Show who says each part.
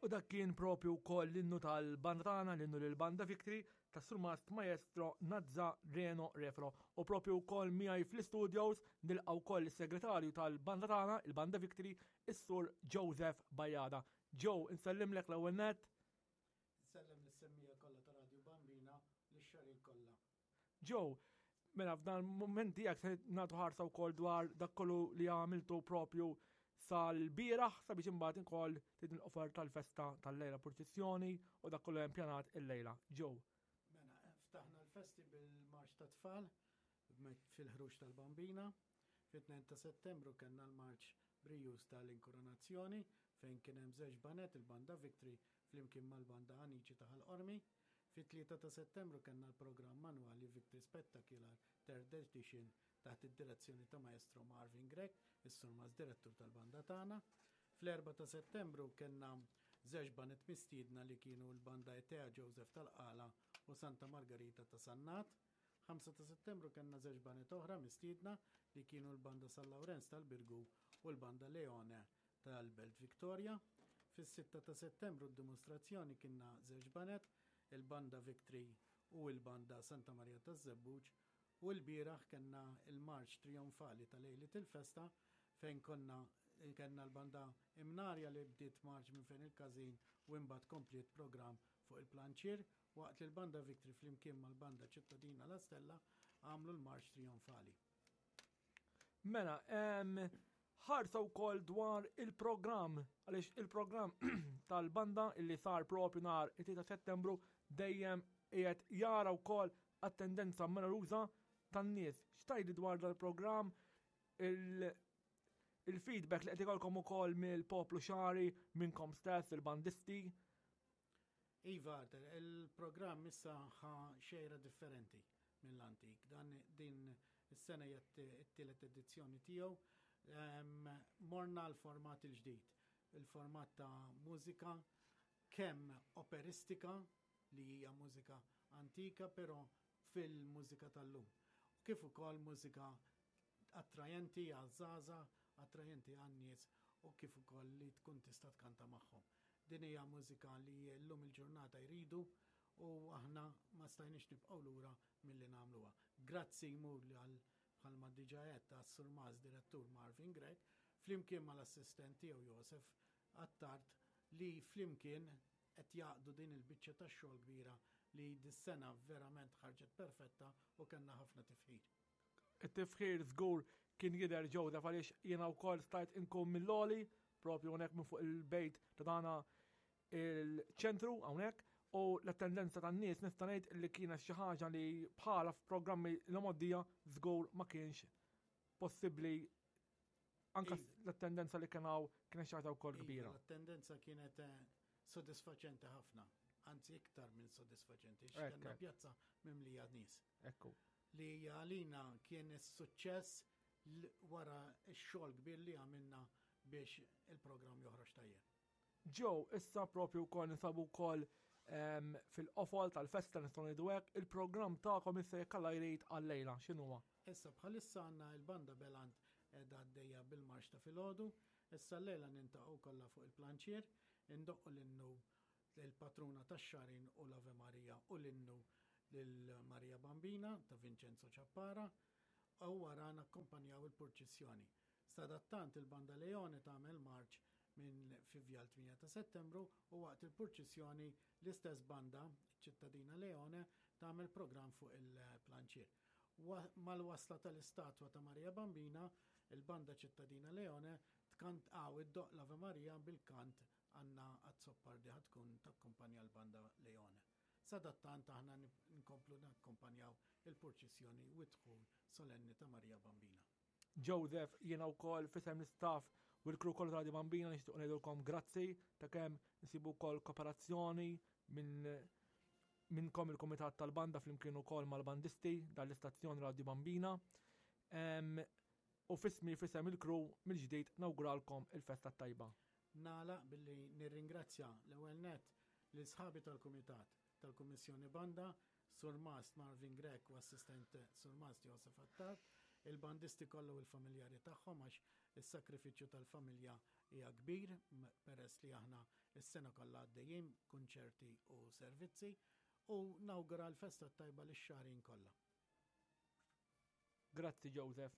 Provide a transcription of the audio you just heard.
Speaker 1: U dak kien propju wkoll l-innu tal-banda tagħna, l-innu lill-Banda Victory tas-Surmast Maestro Nazza Reno Refro. U propju wkoll miegħi fl-istudios nilqa' wkoll is-segretarju tal-banda tagħna, il-Banda Victory, is-Sur Joseph Bajada. Joe, insellimlek l-ewwel nett.
Speaker 2: Insellem lis-semmija kollha ta' Radio Bambina, lix-xarin kollha.
Speaker 1: Joe, mela f'dan il-mument tiegħek se nagħtu ħarsa wkoll dwar dak kollu li għamiltu propju sal-bieraħ sabiex imbagħad inkoll tidin l-offer tal-festa tal-lejla purċissjoni u dak kollu hemm pjanat il-lejla. Joe.
Speaker 2: Mela, ftaħna l-festi bil-marċ ta' tfal fil-ħruġ tal-Bambina. Fit-2 ta' Settembru kellna l-marċ brijuż tal-inkoronazzjoni fejn kien hemm żewġ banet il-Banda Victory flimkien mal-Banda Anici ta' Ħal Qormi. Fit-3 ta' Settembru kellna l-programm annwali Victory Spectacular Third Edition taħt id-direzzjoni ta' Maestro Marvin Grech, is-Surmast Direttur tal-banda tagħna. Fl-4 ta' Settembru kellna żewġ baned mistiedna li kienu l-Banda Etea Joseph tal-Qala u Santa Margarita ta' Sannat. 5 ta' Settembru kellna żewġ baned oħra mistiedna li kienu l-Banda San Lawrenz tal-Birgu u l-Banda Leone tal-Belt Victoria. Fis-6 ta' Settembru d-dimostrazzjoni kienna żewġ baned, il-Banda Victory u l-Banda Santa Maria taż-Żebbuġ u lbieraħ kellna l-marċ trijonfali ta' lejliet il-festa fejn konna kellna l-Banda Imnarja li bdiet marċ minn fejn il-każin u imbagħad kompliet programm fuq il-planċier waqt li l-Banda Victory flimkien mal-Banda Ċittadina La Stella għamlu l-marċ trijonfali.
Speaker 1: Mela, ħarsa wkoll dwar il-programm, għaliex il-programm tal-banda illi sar propju nhar it-3 Settembru dejjem qiegħed jara wkoll attendenza numeruża tan-nies. X'tajdi dwar dal-programm il-feedback li qed ikolkom ukoll mill-poplu xari, minnkom stess, il-bandisti?
Speaker 2: Iva, Arthur, il-programm issa ħa xejra differenti mill-antik. Dan din is-sena hija t-tielet edizzjoni tiegħu. Morna l-format il-ġdid, il-format ta' mużika kemm operistika li hija mużika antika, però fil-mużika tal-lum. Kif ukoll mużika attrajenti għaż-żgħażagħ, attrajenti għan-nies u kif ukoll li tkun tista' tkanta magħhom. Din hija mużika li llum il-ġurnata jridu u aħna ma stajniex nibqgħu lura milli nagħmluha. Grazzi jmur li għal bħalma diġà għedt għas-Surmas Direttur Marvin Grech flimkien mal-assistent tiegħu Josef Attard li flimkien qed jgħaqqdu din il-biċċa tax-xogħol kbira li dis-sena verament ħarġet perfetta u kellna ħafna tifħir.
Speaker 1: It-tifħir żgur kien jidher Joseph għaliex jiena wkoll stajt inkun mill-għoli propju hawnhekk minn fuq il-bejt ta' dana il-ċentru hawnhekk u l-attendenza tan-nies nista' ngħid li kienet xi ħaġa li bħala f'programmi l-għoddija żgur ma kienx possibbli anka iva. l-attendenza li kien hawn kienet xi ħaġa wkoll iva, kbira.
Speaker 2: L-attendenza kienet eh, sodisfaċenti ħafna, anzi iktar minn sodisfaċenti, x'kellna pjazza mimlija nies.
Speaker 1: Ekku.
Speaker 2: Li għalina kien is-suċċess wara x-xogħol kbir li għamilna biex il-programm joħroġ tajjeb.
Speaker 1: Joe, issa propju wkoll ninsabu wkoll ehm, fil-qofol tal-festa nistgħu ngħidu hekk, il-programm tagħkom issa jekk Alla jrid għal-lejla, x'inhuwa?
Speaker 2: Issa bħalissa għandna il-banda Belant qiegħda għaddejja bil-marx ta' filgħodu, issa llejla nintaqgħu kollha fuq il-planċier, indoqqu l-innu l-patruna tax-Xagħrin u l-Ave Maria u l-innu lil Marija Bambina ta' Vincenzo Ciappara u wara nakkumpanjaw il-purċissjoni. Sadattant il-Banda Leone tagħmel marċ minn fi Vjal 8 ta' Settembru u waqt il-purċissjoni l-istess banda, ċittadina Leone, tagħmel programm fuq il-planċier. Mal-wasla tal-istatwa ta' Marija Bambina, il-Banda Ċittadina Leone tkant għaw id-doq l-Ave Maria bil-kant Anna Azzopardi ħa tkun takkumpanja l-Banda Leone. Sadattant aħna nkomplu nakkumpanjaw il-purċissjoni u d-dħul solenni ta' Marija Bambina.
Speaker 1: Joseph, jiena wkoll f'isem l-istaff u l-crew kollu ta' Radio Bambina nixtieq ngħidulkom grazzi ta' kemm nsibu wkoll kooperazzjoni minn minnkom il-kumitat tal-banda flimkien ukoll mal-bandisti dal-istazzjon Radio Bambina. U fismi fisem il-crew mill-ġdid nawguralkom il-festa tajba.
Speaker 2: Nagħlaq billi nirringrazzja l-ewwel nett lil sħabi tal-Kumitat tal-Kummissjoni Banda, Surmast Marvin Grech u Assistent Surmast Josef Attard, il-bandisti kollha u l-familjari tagħhom għax is-sakrifiċċju tal-familja hija kbir peress peress li aħna s-sena kollha għaddejjin kunċerti u servizzi u nawgura l-festa tajba lix-Xagħrin kollha.
Speaker 1: Grazzi Joseph.